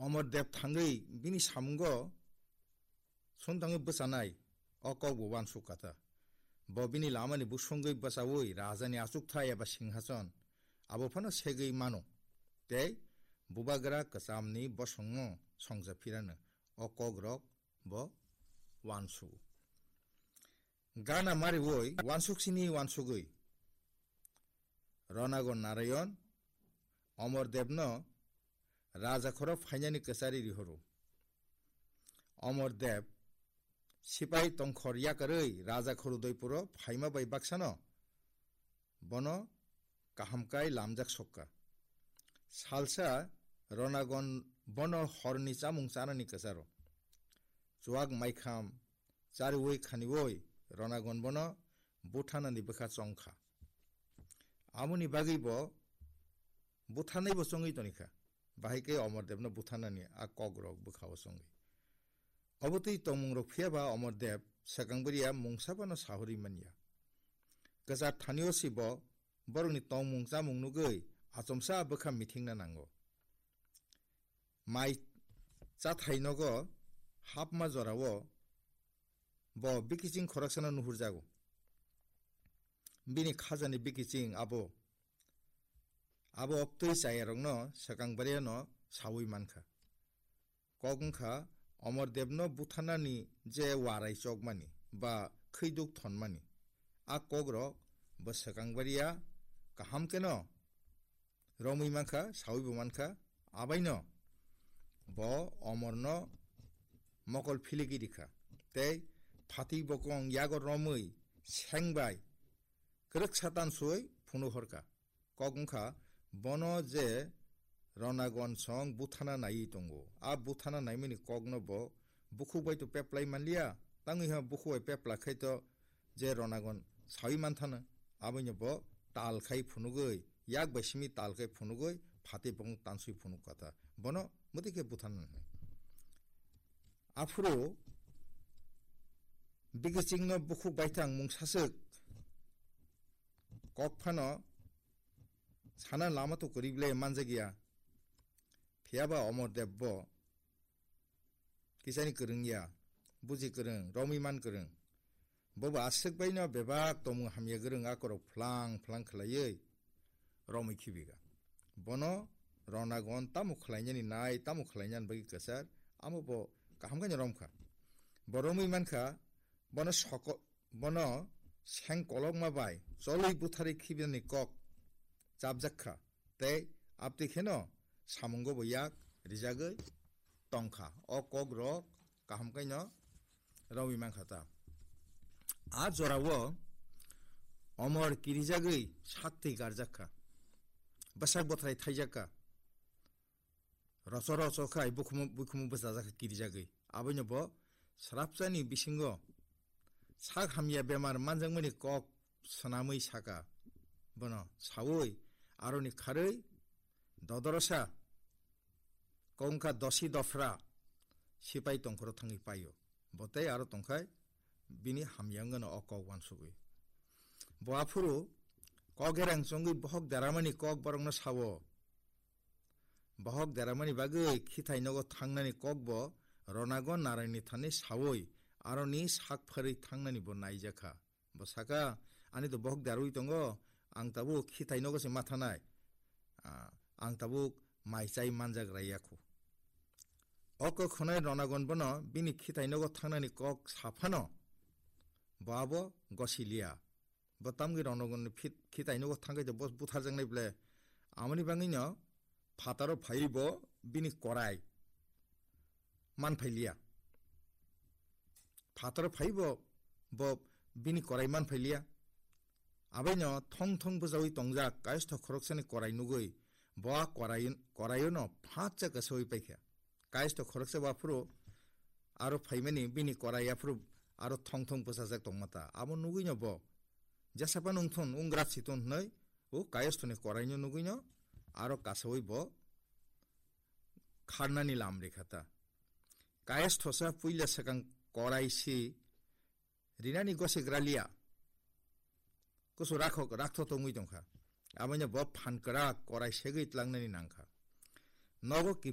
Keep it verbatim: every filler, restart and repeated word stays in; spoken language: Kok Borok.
Omor Deb thangwi bini samungo sumthangwi bwchanai o kok bo uansuk kha ta. Bo bini lamani busungwi bwchaui rajani achukthai eba singhason abo phano segwi mano. Tei bubagra kwchamni bosongno songja phirano o kokrok bo uansugo. Gana mariui uansuksini uansugwi Ronagon Narayon Omor Debno raja khoro phainani kwchari rihoro. Omor Deb sipai tongkhor yakarwi raja khoro doipuro phaima bai baksano bono kaham kai lamjak sokka. Salsa Ronagon bono horni chamung chanani kwcharo. Chuak maikham chariui khaniui Ronagon bono buthanani bwkha chongkha. Amoni bagwi bo buthanai bo chongwi tonikha. Bahai khe Omor Debno buthanani a kokrok bwkhao chongwi. Obo twi tongmungrok phiya ba Omor Deb swkang bwrwiya mungsa phano sahorwi manya. Kwchar thanio si bo borokni tongmung chamung nugwi achomsa bwkha mithingna nango. Mai chathai nogo hapma jorao bo bikiching khoroksano nuhurjago. Bini khajani bikiching abo, abo oktwi chayarokno swkang bwrwiyano saui mankha. Kok wngkha Omor Debno buthanani je warai chokmani ba khwiduk thonmani. A kokrok bo swkang bwrwiya kaham kheno romwi mankha, saui bo mankha, abaino bo Omorno mokol philigi rikha. Tei phatik bokong yago romwi sengbai kwrwksa tansui phunuk horkha. Kok wngkha bono je Ronagon song buthana naiwi tongo. A buthana naimani kokno bo bukhuk bai to peplai manliya, tangwi ha bukhuk bai pepla khai to je Ronagon sawi manthana, aboino bo tal khai phunugwi, yak bai simi tal khai phunugwi, phatwi bokong tanswi phunuk kha ta. Bono mwtwi khe buthana nai. Aphuru bikichingno bukhuk baithang mung saswk kok phano sana lama to kwrwi ble manjakya. Phiyaba Omor Deb bo kisani kwrwngya, buji kwrwng, romwi man kwrwng. Bobo aswk baino bebak tongmung hamya kwrwng akorok phlang phlang khwlaiwi romwi khibiga. Bono Ronagon tamo khwlainani nai, tamo khwlainani bagwi kwchar, amo bo kaham khaino romkha. Bo romwi mankha, bono soko-, bono seng kolokma bai cholwi butharwi khibinani kok chapjak kha, tei abtwi kheno samungo bo yak rijagwi tongkha. O kokrok kaham khaino romwi mankha ta. A jorao Omor kirijagwi saktwi garjak kha, bwsak bwthrai thaijak kha. Rocho rocho khai bukhumu, bukhumu bwchajak kha kirijagwi. Aboino bo srapsani bisingo sak hamya bemar manjakmani kok swnamwi saka. Bono saui aroni kharwi dodorosa kongkha dosi dofra sipai tongkhoro thangwi paio. Bo tei aro tongkhai bini hamya wngano o kok uansugwi. Bo aphuru kok erang chongwi bohok deramani kok borokno sao. Bohok deramani bagwi khithai nogo thangnani kokbo Ronagon Naraini thani saui aroni sak pharwi thangnani bo naijakha. Bo saka, "Ani to bohok derwi tongo, ang tabuk khithai nogo se mathanai. Ah, ang tabuk mai chai manjak raiya khu." O kok khwnai Ronagon bono bini khithai nogo thangnani kok saphano bo abo gosiliya. Bo tamgwi Ronagon ni phit-, khithai nogo thangkhe to bo butharjaknai ble. Amoni bangwino phataro phaiwi bo bini korai manphailiya. Phataro phaiwi bo, bo bini korai manphailiya. Abaino thong thong bwjaui tongjak kayastho khoroksani korai nugwi bo a korai, koraiono phatsa kasaui paikha. Kayastho khoroksa bo aphuru aro phaimani bini korai aphuru aro thong thong bwchajak tongma ta. Abo nugwino bo, "Jesapa nungthun, wnggra siton," hwnwi o kayasthoni koraino nugwino aro kasaui bo kharnani lam rikha ta. Kayasthosa puila swkang korai si rinani gosek raliya. Kusu rakhok, raktho tongwi tongkha. Aboino bo phan kwrak korai segwi tlangnani nangkha. Nogo kiphi